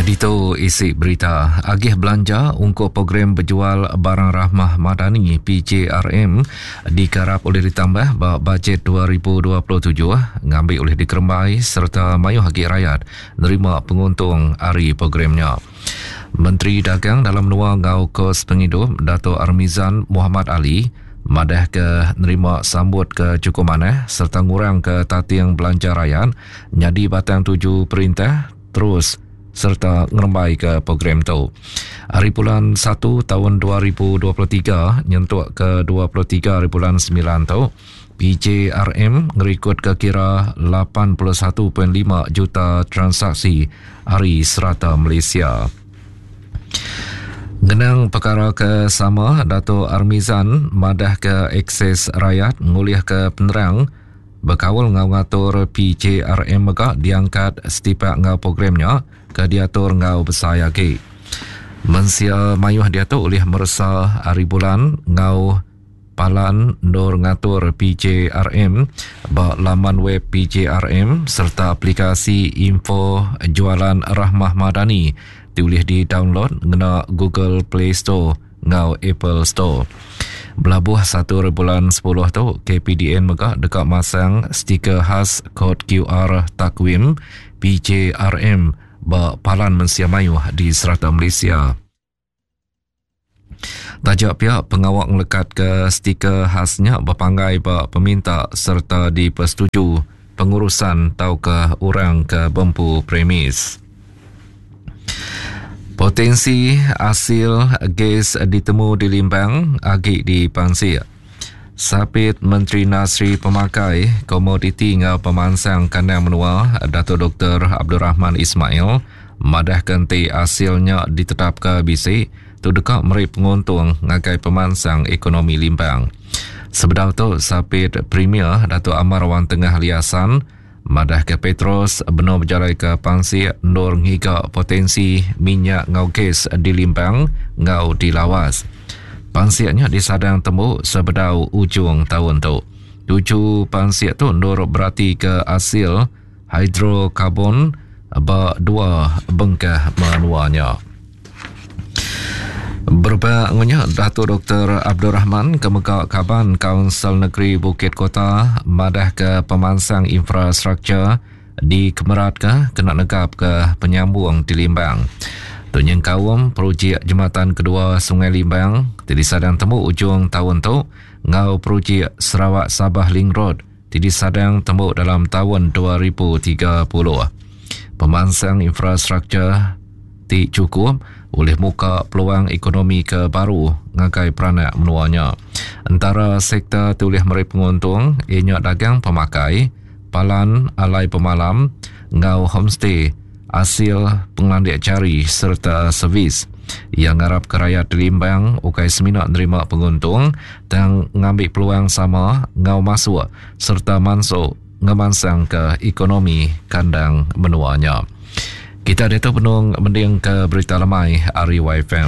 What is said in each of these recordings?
Ditu isi berita. Agih belanja ungkup program bejual barang Rahmah Madani PJRM dikarap ulih ditambah ba bajet 2027 ngambi ulih dikerembai sereta mayuh agi rayat nerima penguntung ari program nya. Menteri Dagang Dalam Menua enggau Kos Pengidup Datuk Armizan Mohamad Ali madahka nerima sambut ke chukup manah sereta ngurangka tating belanja rayat nyadi batang tuju perintah terus sereta ngerembaika program tu. Ari bulan satu taun 2023 nyentuk ke 23 ari bulan semilan tu, PJRM ngerikodka kira 81.5 juta transaksi ari serata Malaysia. Ngenang pekara ke sama, Datuk Armizan madahka akses rayat ngulihka penerang bekaul enggau ngatur PJRM mega diangkat setipak enggau program nya ke diatur enggau besai agi. Mensia mayuh diatu ulih meresa hari bulan enggau Palan endur ngatur PJRM ba laman web PJRM sereta aplikasi Info Jualan Rahmah Madani ti ulih didownload ngena Google Play Store enggau Apple Store. Belabuh satu ari bulan sepuluh tu, KPDN mega deka masang stiker khas kod QR Takwim PJRM ba palan mensia mayuh di serata Malaysia. Taja pia, pengawa ngelekatka stiker khas nya bepanggai ba peminta sereta dipesetuju pengurusan tauka orang ke bempu premis. Potensi asil gas ditemu di Limbang agi dipansik. Sapit Menteri Industri Pemakai, Komoditi enggau Pemansang Kandang Menua Datuk Doktor Abdul Rahman Ismail madahka enti asil nya ditetapka bisi, tu deka meri penguntung ngagai pemansang ekonomi Limbang. Sebedau tu, Sapit Premier Datuk Amar Awang Tengah Ali Hasan madahka Petros benung bejalaika pansik endur ngiga potensi minyak enggau gas di Limbang enggau di Lawas. Pansik nya disadang tembu sebedau ujung taun tu. Tuju pansik tu endur beratika asil hidrokarbon ba dua bengkah menua nya. Berebak enggau nya, Datuk Doktor Abdul Rahman ke mega kaban Kaunsil Negeri Bukit Kota madahka pemansang infrastruktur dikemeratka kena negapka penyambung ti Limbang. Tu nyengkaum projek jematan kedua Sungai Limbang ti disadang tembu ujung taun tu enggau projek Sarawak Sabah Link Road ti disadang tembu dalam taun 2030. Pemansang infrastruktur ti chukup ulih muka peluang ekonomi ke baru ngagai peranak menua nya. Entara sektor ti ulih meri penguntung iya nya dagang pemakai, palan alai bemalam enggau homestay, asil pengelandik jari sereta servis. Iya ngarapka rayat di Limbang ukai semina nerima penguntung tang ngambi peluang sama enggau masuk sereta mansu ngemansangka ekonomi kandang menua nya. Kita diatu benung mendingka berita lemai ari YFM.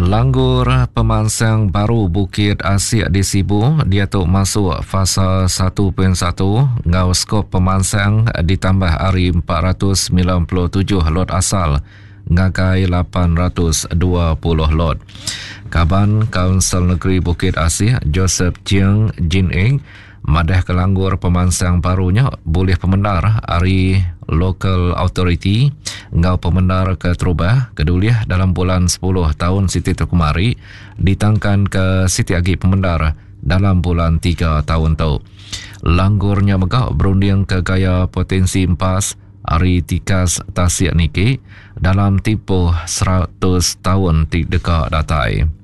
Langgur pemansang baru Bukit Asik di Sibu diatu masuk fasa 1.1 enggau skop pemansang ditambah ari 497 lot asal ngagai 820 lot. Kaban Kaunsil Negeri Bukit Asih Joseph Chieng Jin Eng madahka langgur pemansang baru nya bulih pemendar ari Local Authority enggau pemendar keterubah ke diulih dalam bulan sepuluh taun siti tu kemari ditangkanka siti agi pemendar dalam bulan tiga taun tu. Langgur nya mega berundingka gaya potensi empas ari tikas tasik niki dalam timpuh 100 taun ti deka datai.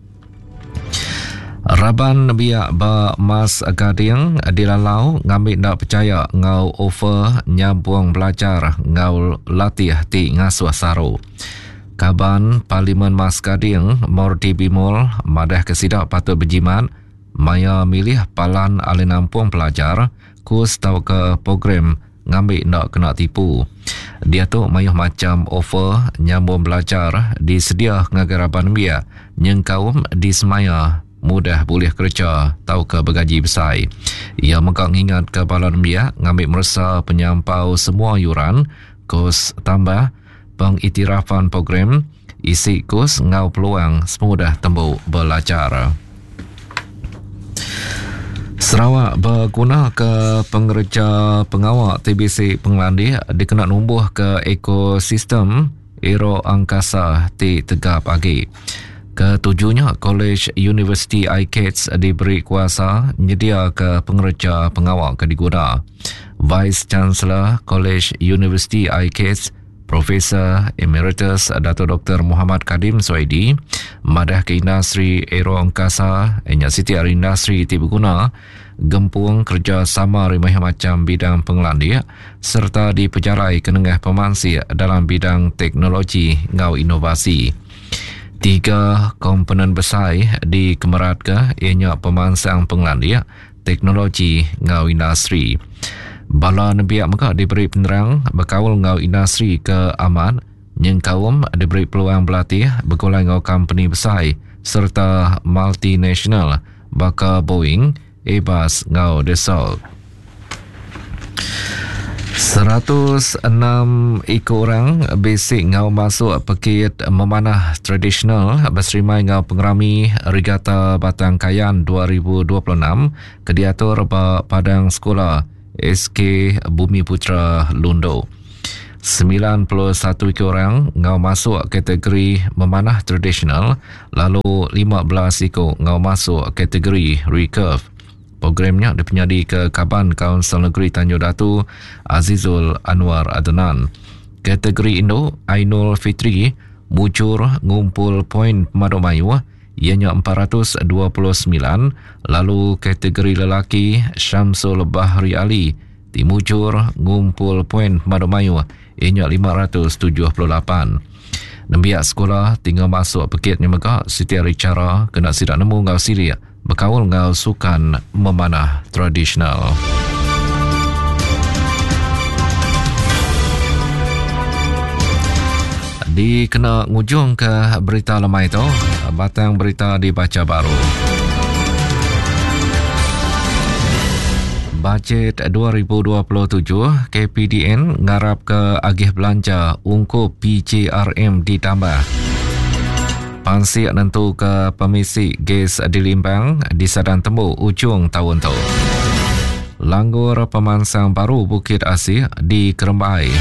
Raban nembiak ba Mas Gading dilalau ngambi enda pechaya enggau offer nyambung belajar enggau latih ti ngasuh saru. Kaban Parlimen Mas Gading Mordi Bimol madahka sida patut bejimat maya milih palan alai nampung pelajar, kus tauka program ngambi enda kena tipu. Diatu mayuh macham offer nyambung belajar disedia ngagai raban nembiak nyengkaum disemaya. mudah bulih kereja tauka begaji besai. Iya mega ngingatka bala nembiak ngambi meresa penyampau semua yuran, kos tambah, pengiktirafan program, isi kus enggau peluang sepengudah tembu belajar. Sarawak begunaka pengereja pengawa ti bisi pengelandik dikena numbuhka ekosistem Aero Angkasa ti tegap agi. Ketuju nya, Kolej Universiti ICATS diberi kuasa nyediaka pengereja pengawa ke diguna. Vice Chancellor Kolej Universiti ICATS, Profesor Emeritus Dato Doktor Muhammad Kadim Suaidi madahka industri aero angkasa nya siti ari industri ti beguna gempung kerejasama ari mayuh macham bidang pengelandik sereta dipejalaika nengah pemansik dalam bidang teknologi enggau inovasi. Tiga komponen besai dikemeratka iya nya pemansang pengelandik, teknologi enggau industri. Bala nembiak mega diberi penerang bekaul enggau industri ke amat nyengkaum diberi peluang belatih begulai enggau kompeni besai sereta multinasional baka Boeing, Airbus enggau Dassault. 106 iku orang bisi enggau masuk pekit memanah tradisional beserimai enggau pengerami Regata Batang Kayan 2026 ke diatur ba Padang Sekula SK Bumi Putra Lundu. 91 iku orang enggau masuk kategori memanah tradisional lalu 15 iku enggau masuk kategori recurve. Program nya dipenyadika Kaban Kaunsil Negeri Tanjung Datu Azizul Anwar Adenan. Kategori indu, Ainul Fitri mujur ngumpul poin pemadu mayuh iya nya 429 lalu kategori lelaki Syamsul Bahri Ali ti mujur ngumpul poin pemadu mayuh iya nya 578. Nembiak sekula ti enggau masuk pekit nya mega siti ari chara kena sida nemu enggau silik bekaul enggau sukan memanah tradisional. Dikena ngujungka berita lemai tu, batang berita dibacha baru. Bajet 2027, KPDN ngarapka agih belanja ungkup PJRM ditambah. Pansik nentuka pemisi gas di Limbang disadang tembu ujung taun tu. Langgur pemansang baru Bukit Asik di Kerembai.